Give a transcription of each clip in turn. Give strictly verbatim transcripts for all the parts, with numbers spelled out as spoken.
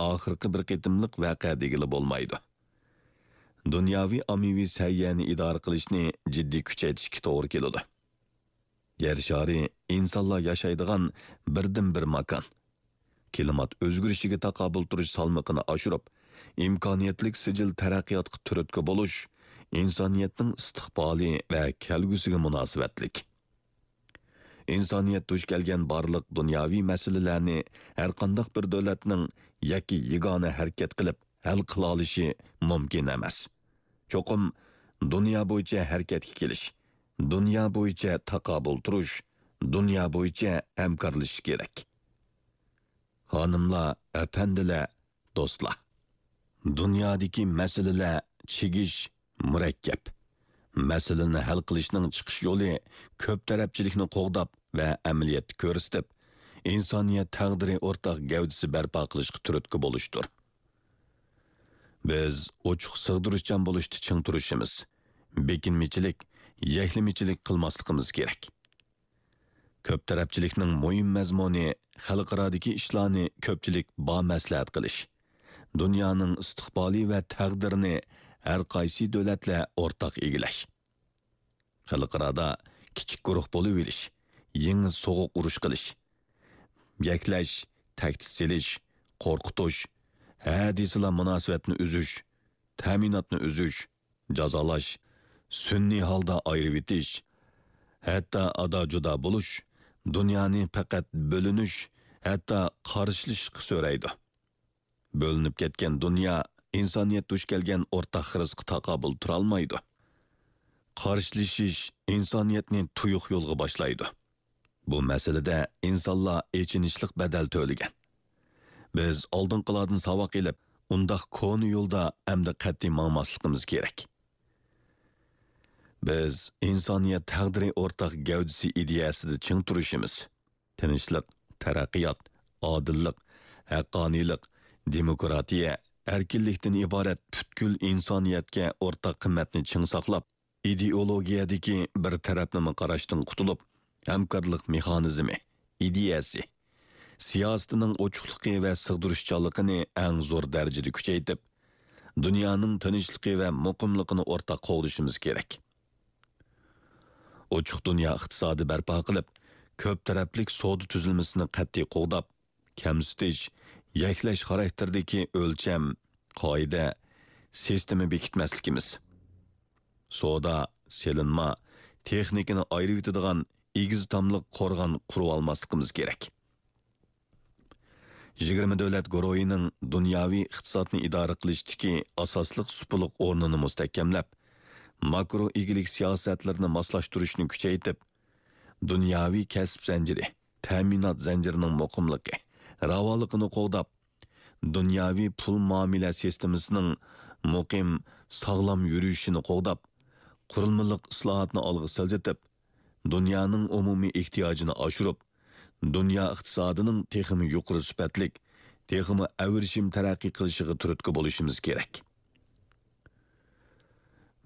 ئاخىرقى بىر قېتىملىق ۋەقە دېگىلى بولمايدۇ. دۇنياۋى ئاممىۋى سەھىيەنى ئىدارە قىلىشنى جىددىي كۈچەيتىشكە توغرا كېلىدۇ. يەر شارى ئىنسانلار ياشايدىغان بىردىنبىر ماكان. كىلىمات ئۆزگىرىشىگە تاقابىل تۇرۇش سالمىقىنى ئاشۇرۇپ، ئىمكانىيەتلىك سىجىل تەرەققىياتقا تۈرتكە بولۇش ئىنسانىيەتنىڭ ئىستىقبالى ۋە كەلگۈسىگە مۇناسىۋەتلىك. ئىنسانىيەت دۇچ كەلگەن بارلىق دۇنياۋى مەسىلىلەرنى ھەرقانداق بىر دۆلەتنىڭ يەككە يېگانە ھەرىكەت قىلىپ ھەل قىلالىشى مۇمكىن ئەمەس. چوقۇم دۇنيا بويىچە ھەرىكەتكە كېلىش، دۇنيا بويىچە تاقابىل تۇرۇش، دۇنيا بويىچە ھەمكارلىشىش كېرەك. خانىملار، ئەپەندىلەر، دوستلار! دۇنيادىكى مەسىلىلەر چىگىش، مۇرەككەپ. مەسىلىنى ھەل قىلىشنىڭ چىقىش يولى كۆپ تەرەپچىلىكنى قوغداپ ۋە ئەمەلىيەتتە كۆرسىتىپ، ئىنسانىيەت تەقدىرى ئورتاق گەۋدىسى بەرپا قىلىشقا تۈرتكە بولۇشتۇر. بىز ئوچۇق سىغدۇرۇشچان بولۇشتا چىڭ تۇرۇشىمىز، بېكىنمىچىلىك، يەكلىمىچىلىك قىلماسلىقىمىز كېرەك. كۆپ تەرەپچىلىكنىڭ مۇھىم مەزمۇنى خەلقئارادىكى ئىشلارنى كۆپچىلىك بامەسلىھەت قىلىش، دۇنيانىڭ ئىستىقبالى ۋە تەقدىرىنى ھەر قايسى دۆلەتلەر ئورتاق ئىگىلەش. خەلقئارادا كىچىك گۇرۇھ بولۇۋېلىش، يېڭى سوغۇق ئۇرۇش قىلىش، يەكلەش، تەھدىت سېلىش، قورقۇتۇش، ھە دېسىلا مۇناسىۋەتنى ئۈزۈش، تەمىناتنى ئۈزۈش، جازالاش، سۈنئىي ھالدا ئايرىۋېتىش، ھەتتا ئادا-جۇدا بولۇش، دۇنيانى پەقەت بۆلۈنۈش، ھەتتا قارشىلىشىشقا سۆرەيدۇ. بۆلۈنۈپ كەتكەن دۇنيا ئىنسانىيەت دۇچ كەلگەن ئورتاق خىرىسقا تاقابىل تۇرالمايدۇ. قارشىلىشىش ئىنسانىيەتنى تۇيۇق يولغا باشلايدۇ. بۇ مەسىلىدە ئىنسانلار ئېچىنىشلىق بەدەل تۆلىگەن. بىز ئالدىنقىلاردىن ساۋاق ئېلىپ، ئۇنداق كونا يولدا ئەمدى قەتئىي ماڭماسلىقىمىز كېرەك. بىز ئىنسانىيەت تەقدىرى ئورتاق گەۋدىسى ئىدىيەسىدە چىڭ تۇرۇشىمىز. تىنچلىق، تەرەققىيات، ئادىللىق، ھەققانىيلىق، دېموكراتىيە، ئەركىنلىكتىن ئىبارەت پۈتكۈل ئىنسانىيەتكە ئورتاق قىممەتنى چىڭ ساقلاپ، ئىدېئولوگىيەدىكى بىر تەرەپلىمە قاراشتىن قۇتۇلۇپ، ھەمكارلىق مېخانىزمى، ئىدىيەسى، سىياسىتىنىڭ ئوچۇقلۇقى ۋە سىغدۇرۇشچانلىقىنى ئەڭ زور دەرىجىدە كۈچەيتىپ، دۇنيانىڭ تىنچلىقى ۋە مۇقىملىقىنى ئورتاق قوغدىشىمىز كېرەك. ئوچۇق دۇنيا ئىقتىسادى بەرپا قىلىپ، كۆپ تەرەپلىك سودا تۈزۈلمىسىنى قەتئىي قوغداپ، كەمسىتىش، يەكلەش خاراكتېرىدىكى ئۆلچەم، قائىدە، سىستېما بېكىتمەسلىكىمىز. سودا، سېلىنما، تېخنىكىنى ئايرىۋېتىدىغان ئېگىز تاملىق قورغان قۇرۇۋالماسلىقىمىز كېرەك. يىگىرمە دۆلەت گۇرۇھىنىڭ دۇنياۋى ئىقتىسادنى ئىدارە قىلىشتىكى ئاساسلىق سۇپىلىق ئورنىنى مۇستەھكەملەپ، ماكرو ئىگىلىك سىياسەتلىرىنى ماسلاشتۇرۇشنى كۈچەيتىپ، دۇنياۋى كەسىپ زەنجىرى، تەمىنات زەنجىرىنىڭ مۇقىملىقى، راۋانلىقىنى قوغداپ، دۇنياۋى پۇل مۇئامىلە سىستېمىسىنىڭ مۇقىم، ساغلام يۈرۈشىنى قوغداپ، قۇرۇلمىلىق ئىسلاھاتنى ئالغا سىلجىتىپ، دۇنيانىڭ ئومۇمىي ئېھتىياجىنى ئاشۇرۇپ، دۇنيا ئىقتىسادىنىڭ تېخىمۇ يۇقىرى سۈپەتلىك، تېخىمۇ ئەۋرىشىم تەرەققىي قىلىشىغا تۈرتكە بولۇشىمىز كېرەك.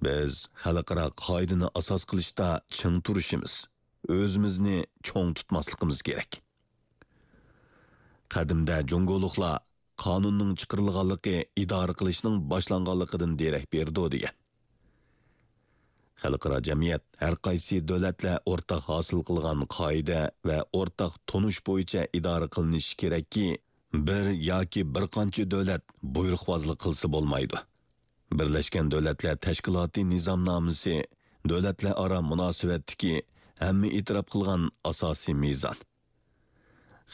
بىز خەلقئارا قائىدىنى ئاساس قىلىشتا چىڭ تۇرۇشىمىز، ئۆزىمىزنى چوڭ تۇتماسلىقىمىز كېرەك. قەدىمدە جۇڭگولۇقلار «قانۇننىڭ چىقىرىلغانلىقى ئىدارە قىلىشنىڭ باشلانغانلىقىدىن دېرەك بېرىدۇ» دېگەن. خەلقئارا جەمئىيەت ھەر قايسى دۆلەتلەر ئورتاق ھاسىل قىلغان قائىدە ۋە ئورتاق تونۇش بويىچە ئىدارە قىلىنىشى كېرەككى، بىر ياكى بىر قانچە دۆلەت بۇيرۇقۋازلىق قىلسا بولمايدۇ. بىرلەشكەن دۆلەتلەر تەشكىلاتى نىزامنامىسى دۆلەتلەر ئارا مۇناسىۋەتتىكى ھەممە ئېتىراپ قىلغان ئاساسىي مىزان.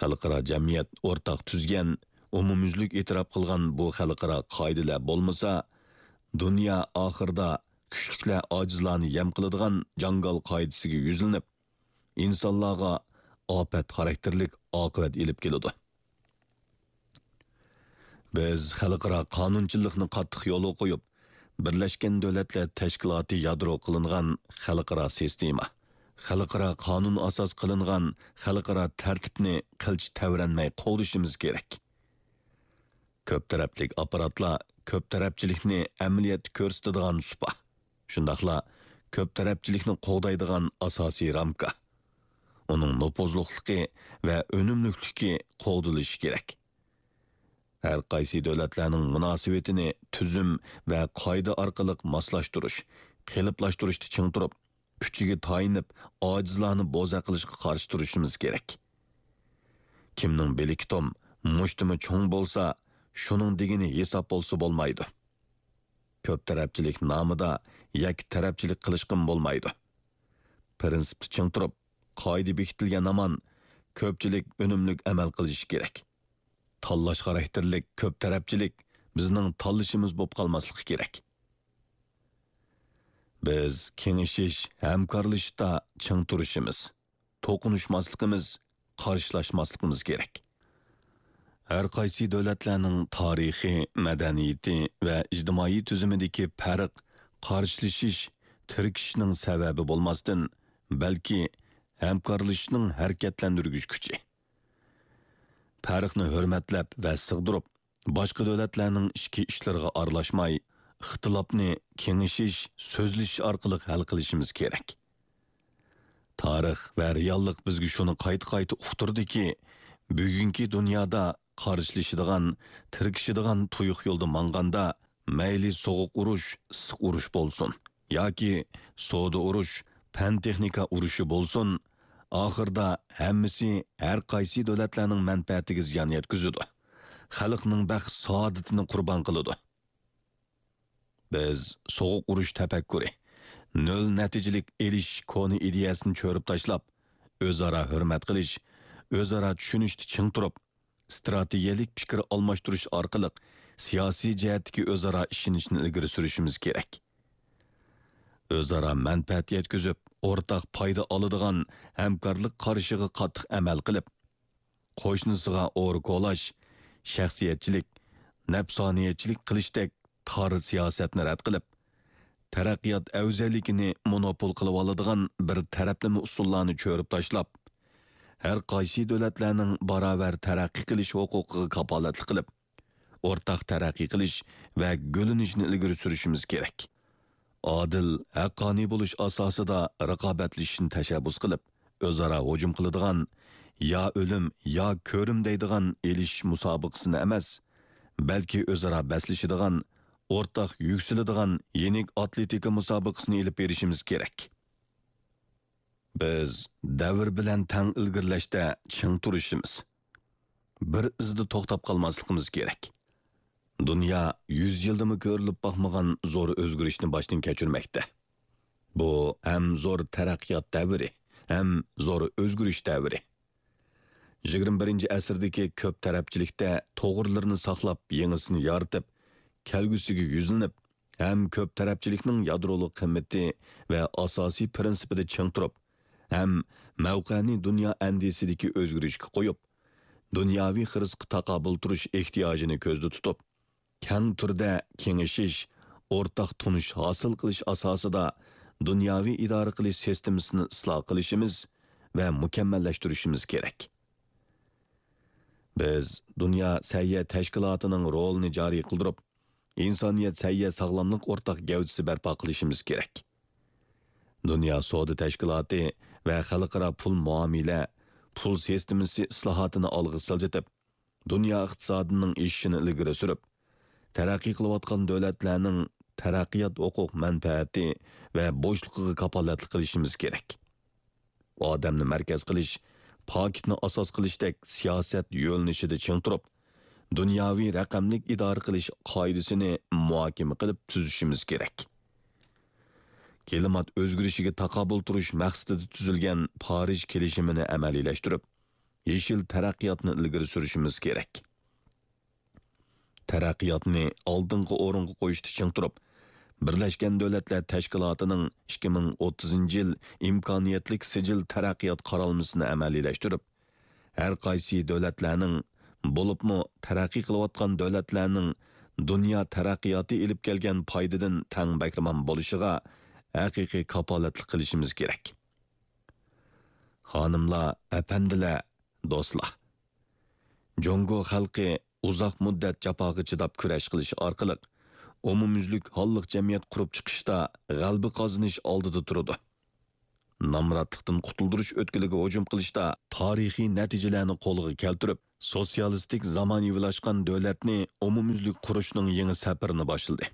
خەلقئارا جەمئىيەت ئورتاق تۈزگەن، ئومۇميۈزلۈك ئېتىراپ قىلغان بۇ خەلقئارا قائىدىلەر بولمىسا، دۇنيا ئاخىرىدا كۈچلۈكلەر ئاجىزلارنى يەم قىلىدىغان جاڭگال قائىدىسىگە يۈزلىنىپ، ئىنسانلارغا ئاپەت خاراكتېرلىك ئاقىۋەت ئېلىپ كېلىدۇ. بىز خەلقئارا قانۇنچىلىقنى قاتتىق يولغا قويۇپ، بىرلەشكەن دۆلەتلەر تەشكىلاتى يادرو قىلىنغان خەلقئارا سىستېما، خەلقئارا قانۇن ئاساس قىلىنغان خەلقئارا تەرتىپنى قىلچە تەۋرەنمەي قوغدىشىمىز كېرەك. كۆپ تەرەپلىك ئاپپاراتلار كۆپ تەرەپچىلىكنى ئەمەلىيەتتە كۆرسىتىدىغان سۇپا، شۇنداقلا كۆپ تەرەپچىلىكنى قوغدايدىغان ئاساسىي رامكا. ئۇنىڭ نوپۇزلۇقلۇقى ۋە ئۈنۈملۈكلۈكى قوغدىلىشى كېرەك. ھەر قايسى دۆلەتلەرنىڭ مۇناسىۋىتىنى تۈزۈم ۋە قائىدە ئارقىلىق ماسلاشتۇرۇش، قېلىپلاشتۇرۇشتا چىڭ تۇرۇپ، كۈچىگە تايىنىپ، ئاجىزلارنى بوزەك قىلىشقا قارشى تۇرۇشىمىز كېرەك. كىمنىڭ بىلىكى توم، مۇشتۇمى چوڭ بولسا، شۇنىڭ دېگىنى ھېساب بولسا بولمايدۇ. كۆپ تەرەپچىلىك نامىدا يەككە تەرەپچىلىك قىلىشقىمۇ بولمايدۇ. پىرىنسىپتا چىڭ تۇرۇپ، قائىدە بېكىتىلگەن ھامان كۆپچىلىك ئۈنۈملۈك ئەمەل قىلىشى كېرەك. تاللاش خاراكتېرلىك كۆپ تەرەپچىلىك بىزنىڭ تاللىشىمىز بولۇپ قالماسلىقى كېرەك. بىز كېڭىشىش، ھەمكارلىشىشتا چىڭ تۇرۇشىمىز، توقۇنۇشماسلىقىمىز، قارشىلاشماسلىقىمىز كېرەك. ھەر قايسى دۆلەتلەرنىڭ تارىخى، مەدەنىيىتى ۋە ئىجتىمائىي تۈزۈمىدىكى پەرق، قارشىلىشىش، تىركىشىشنىڭ سەۋەبى بولماستىن، بەلكى ھەمكارلىشىشنىڭ ھەرىكەتلەندۈرگۈچ كۈچى. پەرقنى ھۆرمەتلەپ ۋە سىغدۇرۇپ، باشقا دۆلەتلەرنىڭ ئىچكى ئىشلىرىغا ئارىلاشماي، ئىختىلاپنى كېڭىشىش، سۆزلىشىش ئارقىلىق ھەل قىلىشىمىز كېرەك. تارىخ ۋە رېئاللىق بىزگە شۇنى قايتا-قايتا ئۇقتۇردىكى، بۈگۈنكى دۇنيادا قارشىلىشىدىغان، تىركىشىدىغان تۇيۇق يولدا ماڭغاندا، مەيلى سوغۇق ئۇرۇش، ئىسسىق ئۇرۇش بولسۇن ياكى سودا ئۇرۇش، پەن-تېخنىكا ئۇرۇشى بولسۇن، ئاخىردا ھەممىسى ھەر قايسى دۆلەتلەرنىڭ مەنپەئەتىگە زىيان يەتكۈزىدۇ، خەلقنىڭ بەخت-سائادىتىنى قۇربان قىلىدۇ. بىز سوغۇق ئۇرۇش تەپەككۇرى، نۆل نەتىجىلىك ئېلىشىش كونا ئىدىيەسىنى چۆرۈپ تاشلاپ، ئۆزئارا ھۆرمەت قىلىش، ئۆزئارا چۈشىنىشتە چىڭ تۇرۇپ، ئىستراتېگىيەلىك پىكىر ئالماشتۇرۇش ئارقىلىق سىياسىي جەھەتتىكى ئۆزئارا ئىشىنىشنى ئىلگىرى سۈرۈشىمىز كېرەك. ئۆزئارا مەنپەئەت يەتكۈزۈپ، ئورتاق پايدا ئالىدىغان ھەمكارلىق قارىشىغا قاتتىق ئەمەل قىلىپ، قوشنىسىغا ئورا كولاش، شەخسىيەتچىلىك، نەپسانىيەتچىلىك قىلىشتەك تار سىياسەتنى رەت قىلىپ، تەرەققىيات ئەۋزەللىكىنى مونوپول قىلىۋالىدىغان بىر تەرەپلىمە ئۇسۇللارنى چۆرۈپ تاشلاپ، ھەر قايسى دۆلەتلەرنىڭ باراۋەر تەرەققىي قىلىش ھوقۇقىغا كاپالەتلىك قىلىپ، ئورتاق تەرەققىي قىلىش ۋە گۈللىنىشنى ئىلگىرى سۈرۈشىمىز كېرەك. ئادىل، ھەققانىي بولۇش ئاساسىدا رىقابەتلىشىشنى تەشەببۇس قىلىپ، ئۆزئارا ھۇجۇم قىلىدىغان، يا ئۆلۈم، يا كۆرۈم دەيدىغان ئېلىشىش مۇسابىقىسىنى ئەمەس، بەلكى ئۆزئارا بەسلىشىدىغان، ئورتاق يۈكسىلىدىغان يېنىك ئاتلېتىكا مۇسابىقىسىنى ئېلىپ بېرىشىمىز كېرەك. بىز دەۋر بىلەن تەڭ ئىلگىرىلەشتە چىڭ تۇرۇشىمىز، بىر ئىزدا توختاپ قالماسلىقىمىز كېرەك. دۇنيا يۈز يىلدىمۇ كۆرۈلۈپ باقمىغان زور ئۆزگىرىشنى باشتىن كەچۈرمەكتە. بۇ ھەم زور تەرەققىيات دەۋرى، ھەم زور ئۆزگىرىش دەۋرى. يىگىرمە بىرىنچى ئەسىردىكى كۆپ تەرەپچىلىكتە توغرىلىرىنى ساقلاپ، يېڭىسىنى يارىتىپ، كەلگۈسىگە يۈزلىنىپ، ھەم كۆپ تەرەپچىلىكنىڭ يادرولۇق قىممىتى ۋە ئاساسىي پىرىنسىپىدا چىڭ تۇرۇپ، ھەم مەۋقەنى دۇنيا ئەندىزىسىدىكى ئۆزگىرىشكە قويۇپ، دۇنياۋى خىرىسقا تاقابىل تۇرۇش ئېھتىياجىنى كۆزدە تۇتۇپ، كەڭ تۈردە كېڭىشىش، ئورتاق تونۇش ھاسىل قىلىش ئاساسىدا دۇنياۋى ئىدارە قىلىش سىستېمىسىنى ئىسلاھ قىلىشىمىز ۋە مۇكەممەللەشتۈرۈشىمىز كېرەك. بىز دۇنيا سەھىيە تەشكىلاتىنىڭ رولىنى جارى قىلدۇرۇپ، ئىنسانىيەت سەھىيە ساغلاملىق ئورتاق گەۋدىسى بەرپا قىلىشىمىز كېرەك. دۇنيا سودا تەشكىلاتى ۋە خەلقئارا پۇل مۇئامىلە، پۇل سىستېمىسى ئىسلاھاتىنى ئالغا سىلجىتىپ، دۇنيا ئىقتىسادىنىڭ ئېشىشىنى ئىلگىرى سۈرۈپ، تەرەققىي قىلىۋاتقان دۆلەتلەرنىڭ تەرەققىيات ھوقۇق مەنپەئەتى ۋە بوشلۇقىغا كاپالەتلىك قىلىشىمىز كېرەك. ئادەمنى مەركەز قىلىش، پاكىتنى ئاساس قىلىشتەك سىياسەت يۆنىلىشىدە چىڭ تۇرۇپ، دۇنياۋى رەقەملىك ئىدارە قىلىش قائىدىسىنى مۇھاكىمە قىلىپ تۈزۈشىمىز كېرەك. كىلىمات ئۆزگىرىشىگە تاقابىل تۇرۇش مەقسىتىدە تۈزۈلگەن پارىژ كېلىشىمىنى ئەمەلىيلەشتۈرۈپ، يېشىل تەرەققىياتنى ئىلگىرى سۈرۈشىمىز كېرەك. تەرەققىياتنى ئالدىنقى ئورۇنغا قويۇشتا چىڭ تۇرۇپ، بىرلەشكەن دۆلەتلەر تەشكىلاتىنىڭ ئىككى مىڭ ئوتتۇزىنچى يىل ئىمكانىيەتلىك سىجىل تەرەققىيات قارالمىسىنى ئەمەلىيلەشتۈرۈپ، ھەر قايسى دۆلەتلەرنىڭ، بولۇپمۇ تەرەققىي قىلىۋاتقان دۆلەتلەرنىڭ دۇنيا تەرەققىياتى ئېلىپ كەلگەن پايدىدىن تەڭ بەھرىمەن بولۇشىغا ھەقىقىي كاپالەتلىك قىلىشىمىز كېرەك. خانىملار، ئەپەندىلەر، دوستلار! جۇڭگو خەلقى ئۇزاق مۇددەت جاپاغا چىداپ كۈرەش قىلىش ئارقىلىق ئومۇميۈزلۈك ھاللىق جەمئىيەت قۇرۇپ چىقىشتا غەلىبە قازىنىش ئالدىدا تۇرىدۇ. نامراتلىقتىن قۇتۇلدۇرۇش ئۆتكىلىگە ھۇجۇم قىلىشتا تارىخىي نەتىجىلەرنى قولغا كەلتۈرۈپ، سوتسىيالىستىك زامانىۋىلاشقان دۆلەتنى ئومۇميۈزلۈك قۇرۇشنىڭ يېڭى سەپىرىنى باشلىدى.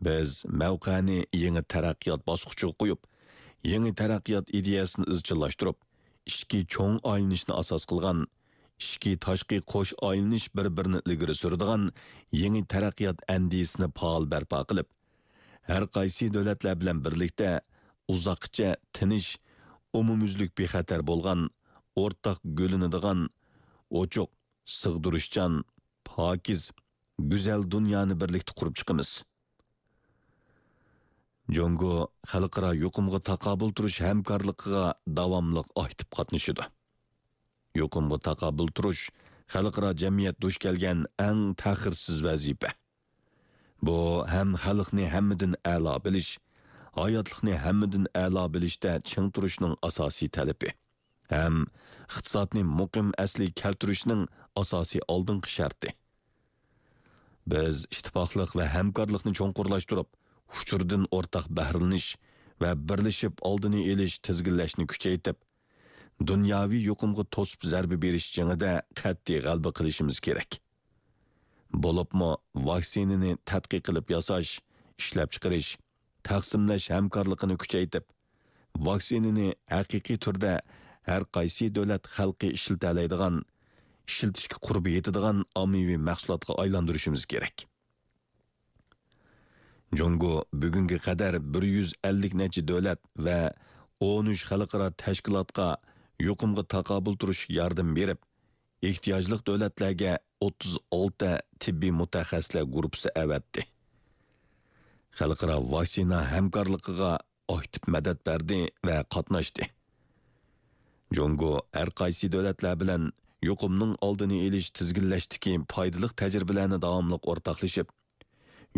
بىز مەۋقەنى يېڭى تەرەققىيات باسقۇچىغا قويۇپ، يېڭى تەرەققىيات ئىدىيەسىنى ئىزچىللاشتۇرۇپ، ئىچكى چوڭ ئايلىنىشنى ئاساس قىلغان ئىچكى تاشقى قوش ئايلىنىش بىر-بىرىنى ئىلگىرى سۈرىدىغان يېڭى تەرەققىيات ئەندىزىسىنى پائال بەرپا قىلىپ، ھەر قايسى دۆلەتلەر بىلەن بىرلىكتە ئۇزاققىچە تىنچ، ئومۇميۈزلۈك بىخەتەر بولغان، ئورتاق گۈللىنىدىغان، ئوچۇق، سىغدۇرۇشچان، پاكىز، گۈزەل دۇنيانى بىرلىكتە قۇرۇپ چىقىمىز. جۇڭگو خەلقئارا يۇقۇمغا تاقابىل تۇرۇش ھەمكارلىقىغا داۋاملىق ئاكتىپ قاتنىشىدۇ. يۇقۇمغا تاقابىل تۇرۇش خەلقئارا جەمئىيەت دۇچ كەلگەن ئەڭ تەخىرسىز ۋەزىپە. بۇ ھەم خەلقنى ھەممىدىن ئەلا بىلىش، ھاياتلىقنى ھەممىدىن ئەلا بىلىشتە چىڭ تۇرۇشنىڭ ئاساسىي تەلىپى، ھەم ئىقتىسادنى مۇقىم ئەسلىگە كەلتۈرۈشنىڭ ئاساسىي ئالدىنقى شەرتى. بىز ئىتتىپاقلىق ۋە ھەمكارلىقنى چوڭقۇرلاشتۇرۇپ، ئۇچۇردىن ئورتاق بەھرىلىنىش ۋە بىرلىشىپ ئالدىنى ئېلىش، تىزگىنلەشنى كۈچەيتىپ، دۇنياۋى يۇقۇمغا توسۇپ زەربە بېرىش جېڭىدە قەتئىي غەلىبە قىلىشىمىز كېرەك. بولۇپمۇ ۋاكسىنىنى تەتقىق قىلىپ ياساش، ئىشلەپچىقىرىش، تەقسىملەش ھەمكارلىقىنى كۈچەيتىپ، ۋاكسىنىنى ھەقىقىي تۈردە ھەر قايسى دۆلەت خەلقى ئىشلىتەلەيدىغان، ئىشلىتىشكە قۇربى يېتىدىغان ئاممىۋى مەھسۇلاتقا ئايلاندۇرۇشىمىز كېرەك. جۇڭگو بۈگۈنگە قەدەر بىر يۈز ئەللىك نەچچە دۆلەت ۋە ئون ئۈچ خەلقئارا تەشكىلاتقا يۇقۇمغا تاقابىل تۇرۇش ياردىمى بېرىپ، ئېھتىياجلىق دۆلەتلەرگە ئوتتۇز ئالتە تېببىي مۇتەخەسسىسلەر گۇرۇپپىسى ئەۋەتتى. خەلقئارا ۋاكسىنا ھەمكارلىقىغا ئاكتىپ مەدەت بەردى ۋە قاتناشتى. جۇڭگو ھەر قايسى دۆلەتلەر بىلەن يۇقۇمنىڭ ئالدىنى ئېلىش، تىزگىنلەشتىكى پايدىلىق تەجرىبىلەرنى داۋاملىق ئورتاقلىشىپ،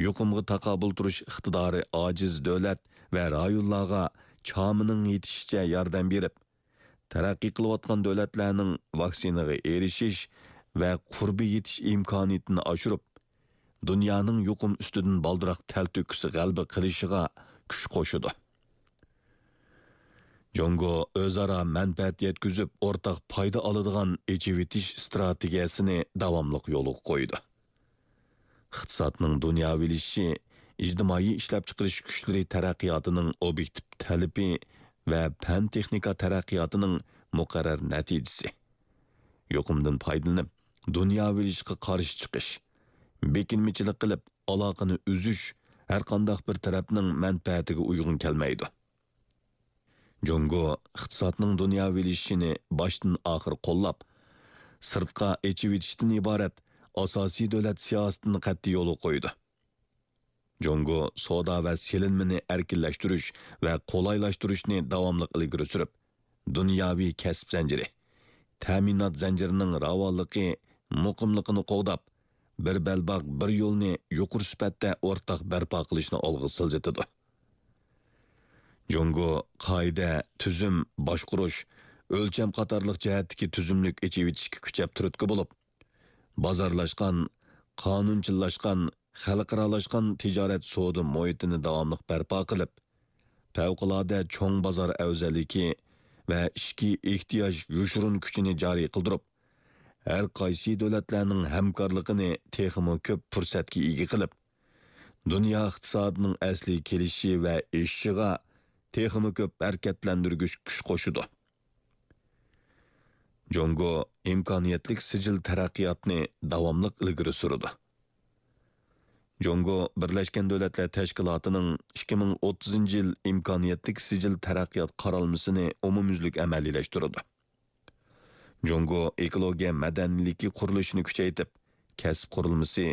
يۇقۇمغا تاقابىل تۇرۇش ئىقتىدارى ئاجىز دۆلەت ۋە رايونلارغا چامىنىڭ يېتىشىچە ياردەم بېرىپ، تەرەققىي قىلىۋاتقان دۆلەتلەرنىڭ ۋاكسىنىغا ئېرىشىش ۋە قۇربى يېتىش ئىمكانىيىتىنى ئاشۇرۇپ، دۇنيانىڭ يۇقۇم ئۈستىدىن بالدۇرراق تەلتۆكۈس غەلىبە قىلىشىغا كۈچ قوشىدۇ. جۇڭگو ئۆزئارا مەنپەئەت يەتكۈزۈپ، ئورتاق پايدا ئالىدىغان ئېچىۋېتىش ئىستراتېگىيەسىنى داۋاملىق يولغا قويىدۇ. ئىقتىسادنىڭ دۇنياۋىلىشىشى ئىجتىمائىي ئىشلەپچىقىرىش كۈچلىرى تەرەققىياتىنىڭ ئوبيېكتىپ تەلىپى ۋە پەن-تېخنىكا تەرەققىياتىنىڭ مۇقەررەر نەتىجىسى. يۇقۇمدىن پايدىلىنىپ، دۇنياۋىلىشىشقا قارشى چىقىش، بېكىنمىچىلىك قىلىپ، ئالاقىنى ئۈزۈش ھەرقانداق بىر تەرەپنىڭ مەنپەئەتىگە ئۇيغۇن كەلمەيدۇ. جۇڭگو ئىقتىسادنىڭ دۇنياۋىلىشىشىنى باشتىن ئاخىر قوللاپ، سىرتقا ئېچىۋېتىشتىن ئىبارەت ئاساسىي دۆلەت سىياسىتىنى قەتئىي يولغا قويىدۇ. جۇڭگو سودا ۋە سېلىنمىنى ئەركىنلەشتۈرۈش ۋە قولايلاشتۇرۇشنى داۋاملىق ئىلگىرى سۈرۈپ، دۇنياۋى كەسىپ زەنجىرى، تەمىنات زەنجىرىنىڭ راۋانلىقى، مۇقىملىقىنى قوغداپ، بىر بەلباغ، بىر يولنى يۇقىرى سۈپەتتە ئورتاق بەرپا قىلىشنى ئالغا سىلجىتىدۇ. جۇڭگو قائىدە، تۈزۈم، باشقۇرۇش، ئۆلچەم قاتارلىق جەھەتتىكى تۈزۈملۈك ئېچىۋېتىشكە كۈچەپ تۈرتكە بولۇپ، بازارلاشقان، قانۇنچىللاشقان، خەلقئارالاشقان تىجارەت سودا مۇھىتىنى داۋاملىق بەرپا قىلىپ، پەۋقۇلئاددە چوڭ بازار ئەۋزەللىكى ۋە ئىچكى ئېھتىياج يوشۇرۇن كۈچىنى جارى قىلدۇرۇپ، ھەر قايسى دۆلەتلەرنىڭ ھەمكارلىقىنى تېخىمۇ كۆپ پۇرسەتكە ئىگە قىلىپ، دۇنيا ئىقتىسادىنىڭ ئەسلىگە كېلىشى ۋە ئېشىشىغا تېخىمۇ كۆپ ھەرىكەتلەندۈرگۈچ كۈچ قوشىدۇ. جۇڭگو ئىمكانىيەتلىك سىجىل تەرەققىياتنى داۋاملىق ئىلگىرى سۈرىدۇ. جۇڭگو بىرلەشكەن دۆلەتلەر تەشكىلاتىنىڭ ئىككى مىڭ ئوتتۇزىنچى يىل ئىمكانىيەتلىك سىجىل تەرەققىيات قارالمىسىنى ئومۇميۈزلۈك ئەمەلىيلەشتۈرىدۇ. جۇڭگو ئېكولوگىيە مەدەنىيلىكى قۇرۇلۇشىنى كۈچەيتىپ، كەسىپ قۇرۇلمىسى،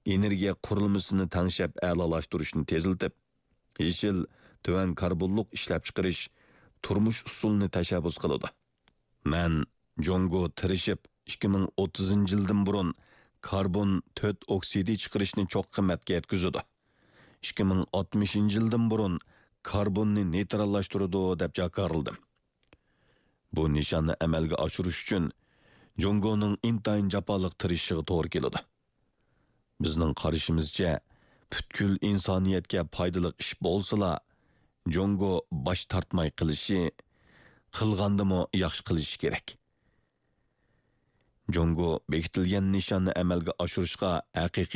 ئېنېرگىيە قۇرۇلمىسىنى تەڭشەپ ئەلالاشتۇرۇشنى تېزلىتىپ، يېشىل، تۆۋەن كاربونلۇق ئىشلەپچىقىرىش، تۇرمۇش ئۇسۇلىنى تەشەببۇس قىلىدۇ. مەن جۇڭگو تىرىشىپ، ئىككى مىڭ ئوتتۇزىنچى يىلدىن بۇرۇن كاربون تۆت ئوكسىدى چىقىرىشنى چوققا قىممەتكە يەتكۈزىدۇ، ئىككى مىڭ ئاتمىشىنچى يىلدىن بۇرۇن كاربوننى نېيتراللاشتۇرىدۇ، دەپ جاكارلىدىم. بۇ نىشاننى ئەمەلگە ئاشۇرۇش ئۈچۈن جۇڭگونىڭ ئىنتايىن جاپالىق تىرىشىشىغا توغرا كېلىدۇ. بىزنىڭ قارىشىمىزچە، پۈتكۈل ئىنسانىيەتكە پايدىلىق ئىش بولسىلا، جۇڭگو باش تارتماي قىلىشى، قىلغاندىمۇ ياخشى قىلىشى كېرەك. جۇڭگو بېكىتىلگەن نىشاننى ئەمەلگە ئاشۇرۇشقا ھەقىقىي